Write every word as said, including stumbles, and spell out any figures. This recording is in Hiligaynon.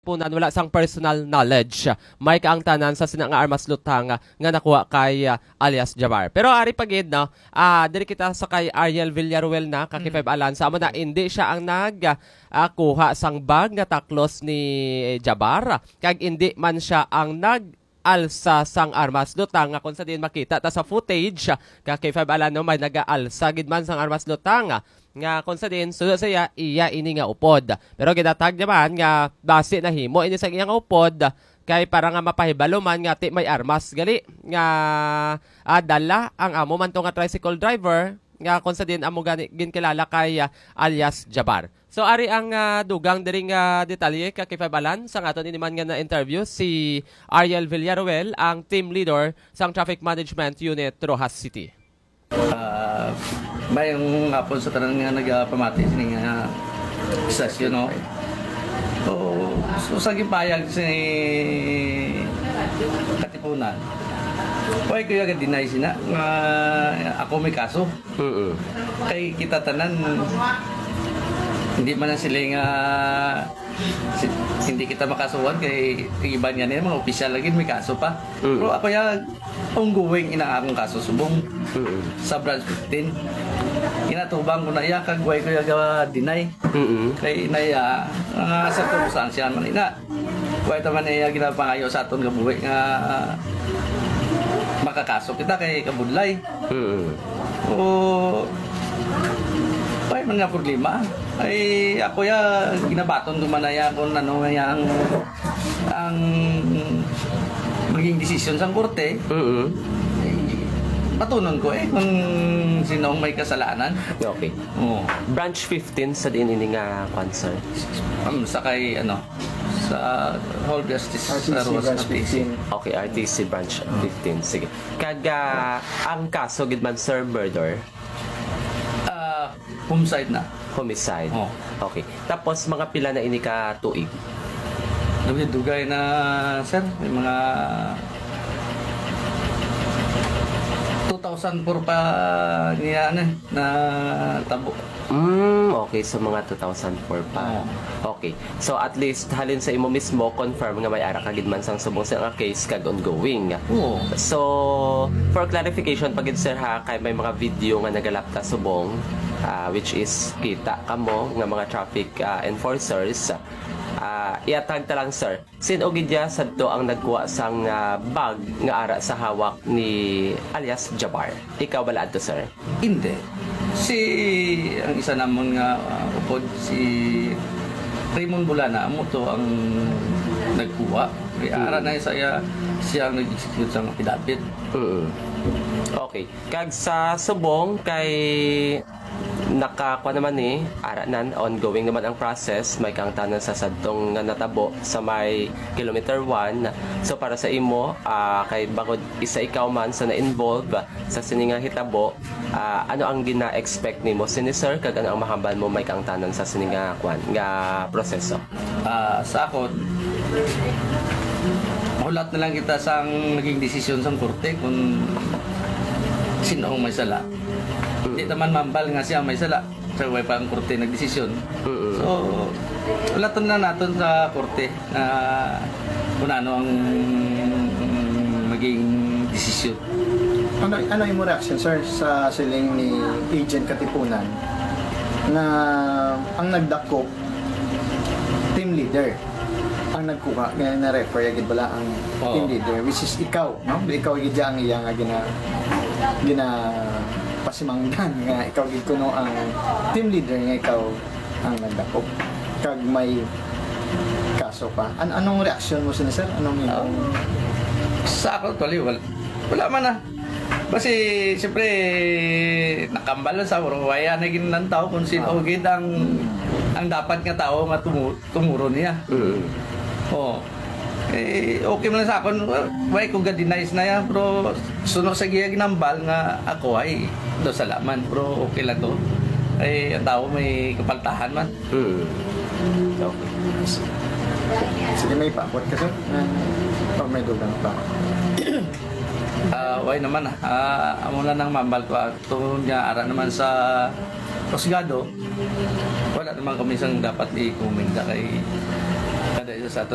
Punan, wala sang personal knowledge. May kaangtanan sa sina nga armas lutang nga nakuha kay, ah, alias Jabar. Pero ari pa gid, no, ah, diri kita sa kay Ariel Villaruel na, ka K five Alan. Sa amo na, hindi siya ang nag, ah, kuha sang bag nga taklos ni Jabar, kag hindi man siya ang nag-alsa sang armas lutang, nga kung sa diin makita ta sa footage, ka K five Alan, no, may nag-aalsa gid man sang armas lutang, nga kung sa diin suno sa iya, iya ini nga upod. Pero ginatag naman nga basi nahimo ini sa iyang upod kay para nga mapahibalo man nga ti may armas gali nga, ah, dala ang amo man to nga tricycle driver, nga kung sa diin amo gani ginkilala kay, ah, alias Jabar. So, ari ang, ah, dugang diri nga detalye, ka K five Alan, sang aton ini man nga na-interview si Ariel Villaruel, ang team leader sang Traffic Management Unit, Roxas City. Ah, mayong hapon sa tanan nga nagapamati sini nga istasyon, no? So, so sa gipahayag si Katipunan, why ko yung deny sina nga ako may kaso? Mm-mm. Kay kita tanan, hindi man na sila nga si-, hindi kita makasuhan kay iban nga nila, mga opisyal lagi may kaso pa. Mm. Pero ako ya, ongoing ina akong kaso subong Mm. sa branch fifteen. Ginatubang ko na iya, kag way ko iya ga-deny. Mm. Kay na iya, ah, sa sirkumstansya man ina. Way ta man iya ginapangayo sa aton nga buhi nga makakaso kita kay kabudlay. Mm. O, way man nga problema. Ay, ako ya, ginabaton ko man na iya kung ano nga iya ang, ang maging desisyon sang korte. Mm. Ay, batunon ko eh kung sino ang may kasalanan. Okay. Oo. Branch fifteen sa diin ini nga kwan, sir? Um, sa kay, ano, sa Hall Justice, R T C sa Roxas branch R T C. Fifteen. Okay, R T C branch fifteen. Sige. Kag, ah, ang kaso gid man, sir, murder? Ah, homicide na. Homicide. Oh. Okay. Tapos, mga pila na ini ka tuig? Dugay-dugay na, sir. May mga two thousand four pa niya, ano, eh, na tabo. Mm, okay. So, mga two thousand four pa. Oo. Okay. So, at least, halin sa imo mismo, confirm nga may ara ka gid man sang subong sa nga case kag ongoing. Oo. So, for clarification pa gid, sir, ha, kay may mga video nga nagalapta subong, ah, which is kita kamo nga mga traffic, ah, enforcers. Ah, iatag ta lang, sir. Sin-o gid ya sadto ang nagkuha sang, ah, bag nga ara sa hawak ni alias Jabar? Ikaw bala adto, sir? Hindi. Si, ang isa namon nga, ah, upod, si Raymond Bulana, amo to ang nagkuha. Kay ara Mm. na sa iya, siya ang nag-execute sa mga pidapit. Mm. Okay. Kag sa subong kay nakakuha naman ni, ara nan, ongoing naman ang process, may kaangtanan sa sadtong nga natabo sa may kilometer one. So, para sa imo, ah, kay bangod isa ikaw man sa na-involve sa sini nga hitabo, ah, ano ang gina-expect nimo sini, sir, kag ano ang mahambal mo may kaangtanan sa sini nga, kwan, nga proseso? Ah, sa akon, mahulat na lang kita sang naging desisyon sang korte kung sino ang may sala. Mm. Di naman mambal nga siya ang may sala. Sa way pa ang korte nagdesisyon. Mm. So, hulaton na naton sa korte na kung ano ang maging desisyon. Ano, ano imo reaction, sir, sa siling ni Agent Katipunan na ang nagdakop team leader ang nagkuha, nga na-refer ya gid bala ang Oo. team leader, which is ikaw, no? Ikaw gid ang iya nga gina-, ginapasimangdan nga ikaw gid kuno ang team leader, nga ikaw ang nagdakop kag may kaso pa. An-, anong reaksyon mo sini, sir? Anong Ah, imong sa ako, actually, wal-, wala man na. Kasi, siyempre, nakambal lang sa, pero waya na ginlantaw kung sino Ah. gid ang, ang dapat nga tao nga tumu-, tumuro niya. Mm. Oo. Eh, okay man lang sa akon, wa-, way ko ga-deny na yan, pero suno sa giya ginambal nga ako ay do salaman, pero okay lang to. Ay, ang tao may kapaltahan man. Mm. Okay. Sige, may paabot ka, sir? Ah, oh, may dugang pa. Ah, way naman, ah. Ah, amo na nang mambal ko, ah, tungod nga ara naman sa husgado, wala naman kami sang dapat i-comment kay kada Sa aton